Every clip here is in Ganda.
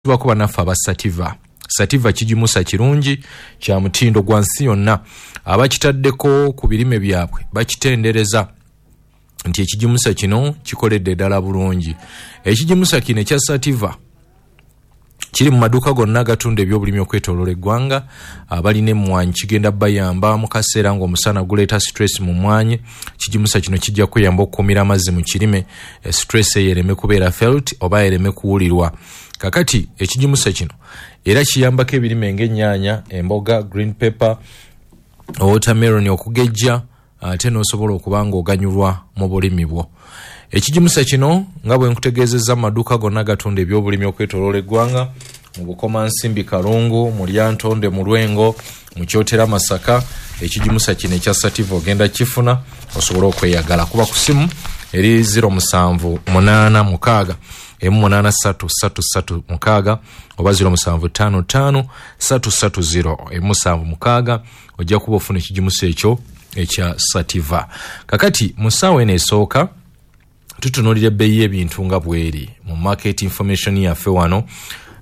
Tubako bannaffe aba Sativa. Sativa kigimusa kirungi kya mutindo gwa nsi yonna. Abakitaddeko ku birime byabwe bakitendereza nti ekigimusa kino kikoledde ddala bulungi. Ekigimusa kino ekya Sativa kiri mu maduuka gonna agatunda ebyobulimi okwetooloola eggwanga. Abalina emmwanyi kigenda bayamba mu kaseera ng'omusana guleeta stress mu mmwanyi. Kigimusa kino kijja kuyamba okukuumira amazzi mu kirime, stress eyo ereme kubeera felt oba ereme kuwulirwa. Kakati ekigimusa kino era kiyambako ebirime ng'ennyaanya, emboga, green pepper, watermelon okugejja, ate n'osobola okuba ng'oganyulwa mu bulimi bwo. Ekigimusa kino nga bwe nkutegeezezza mu maduuka gonna agatunda ebyobulimi okwetooloola eggwanga, mu Bukomansimbi Kalungu, mu Lyantonde, mu Lwengo, mu Kyotera Masaka, ekigimusa kino ekya Sativa ogenda kifuna osobole okweyagala. Kuba ku simu eri 07 8 6 8 3 3 3 6 oba 07 5 5 3 3 0 7 6, ojja kuba ofuna ekigimusa ekyo ekya Sativa. Kakati mu ssaawa eno esooka tutunuulira ebbeeyi y'ebintu nga bweri mu market information yaffe wano,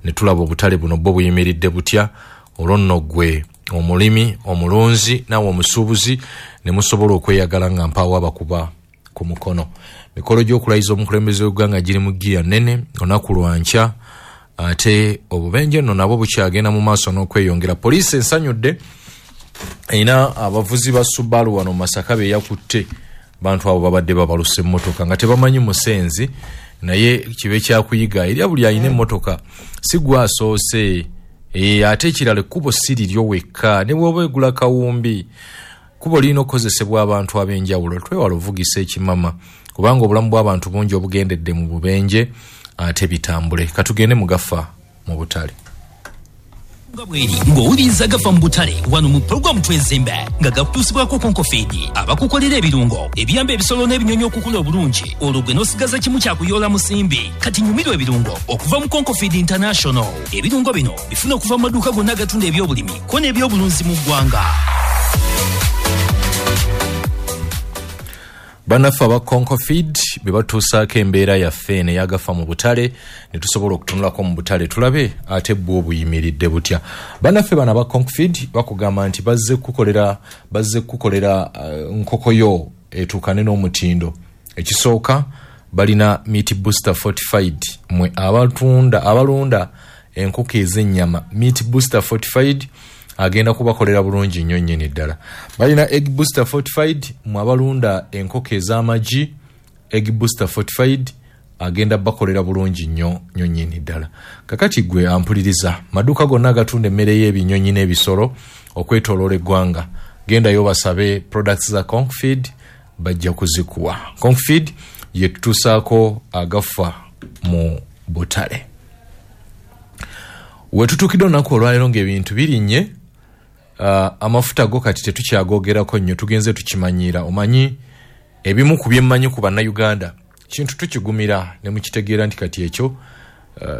ne tulaba obutale buno bwo buyimiridde butya. Olwo nno ggwe omulimi, omulunzi naawe omusuubuzi ne musobola okweyagala nga mpaawo abakuba ku mukono. Mikolo gy'okulayiza omukulembeze w'eggwanga giri mu ggiya nnene olunaku lwa nkya, ate obubenje nno nabwo bukyagenda mu maaso n'okweyongera. Poliisi ensanyudde erina abavuzi ba Subaru wano mu Masaka be yakutte. Bantu abo babadde babalusa emmotoka nga tebamanyi musenzi, naye kibe kyakuyiga eri buli alina emmotoka, si gwe asoose. Ate ekirala, ekkubo si liryo wekka, ne bw'oba egula kawumbi, kkubo lirina okukozesebwa abantu ab'enjawulo. Twewala ovugisa ekimama kubanga obulamu bw'abantu bungi obugendedde mu bubenje, ate bitambule. Katugende mugafa mu butale. Nga bweri ng'owuliriza Gafa mu Butale wano mu pulogulaamu Twezimbe, nga gakutuusibwako Concofeed, abakukolera ebirungo ebiyamba ebisolo n'ebinyonyi okukula obulungi, olwo gwe n'osigaza kimu kyakuyoola musimbi. Kati nyumirwa ebirungo okuva mu Concofeed International. Ebirungo bino bifuna okuva mu maduuka gonna agatunda ebyobulimi ko n'ebyobulunzi mu ggwanga. Bannaffe aba Concofeed be batuusaako embeera yaffe eno eyagafa mu butale, ne tusobola okutunulako mu butale tulabe ate bwo obuyimiridde butya. Bannaffe bano aba Concofeed bakugamba nti bazze kukukolera nkoko yo etuukane n'omutindo. Ekisooka, balina meat booster fortified. Mwe abatunda, abalunda enkoko ez'ennyama, meat booster fortified agenda kubakolera bulungi nnyo nnyini ddala. Balina egg booster fortified. Mwe abalunda enkoko ez'amagi, egg booster fortified agenda bakolera bulungi nnyo nnyo nnyini ddala. Kakati gwe ampuliriza, maduuka gonna agatunda emmere y'ebinyonyi n'ebisolo okwetooloola eggwanga, gendayo basabe products za Concfeed, bajja kuzikuwa. Concfeed yetutuusaako agafa mu butale. Wetutuukidde olunaku olwaleero ng'ebintu birinnye, amafuta go kati tetukyagogerako nnyo, tugenze tukimanyiira. Omanyi ebimu ku byemmanyi ku Bannayuganda, kintu tukigumira ne mukitegeera nti kati ekyo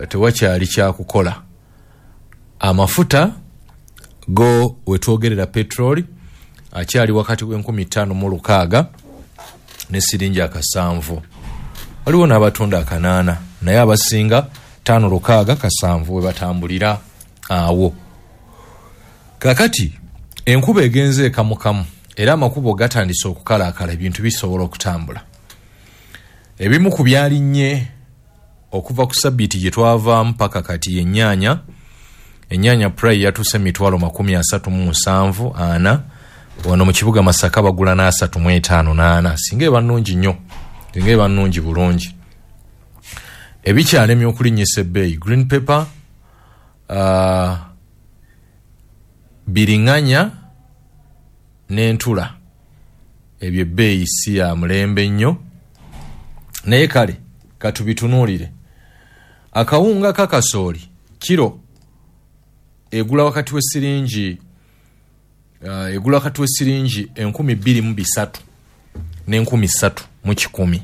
tewakyali kyakukola. Amafuta go wetwogerera, petroli akyali wakati w'5600 ne siringi akasanvu. Waliwo n'abatunda akanaana, naye abasinga 5 6 kasanvu we batambulira awo. Kakati enkuba egenze ekamukamu era amakubo gatandise okukalaakala, ebintu bisobola okutambula. Ebimu ku byalinnye okuva ku sabbiiti gye twavaamu paka kati, ennyaanya. Ennyaanya price yatuuse 374,000 ana. Wano mu kibuga Masaka bagula n'35 n'ana, singa eba nnungi nnyo, singa eba nnungi bulungi. Ebikyalemye okulinnyisa ebbeeyi, green pepper, biriŋŋanya n'entula. Ebyo ebbeeyi si ya mulembe nnyo, naye kale katubitunuulire. Akawunga kakasooli kiro egula wakati w'esiringi 2300 n'3100.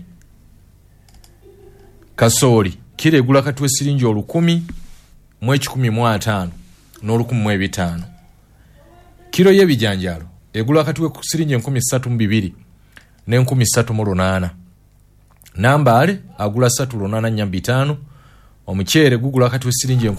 Kasooli kiro egula wakati w'esiringi 1150 n'1500. Kiro y'ebijanjaalo egula wakati w'esiringi 3200 n'3800. Nambaale agula 3 8 4 5. Omuceere gugula kati siringi 400.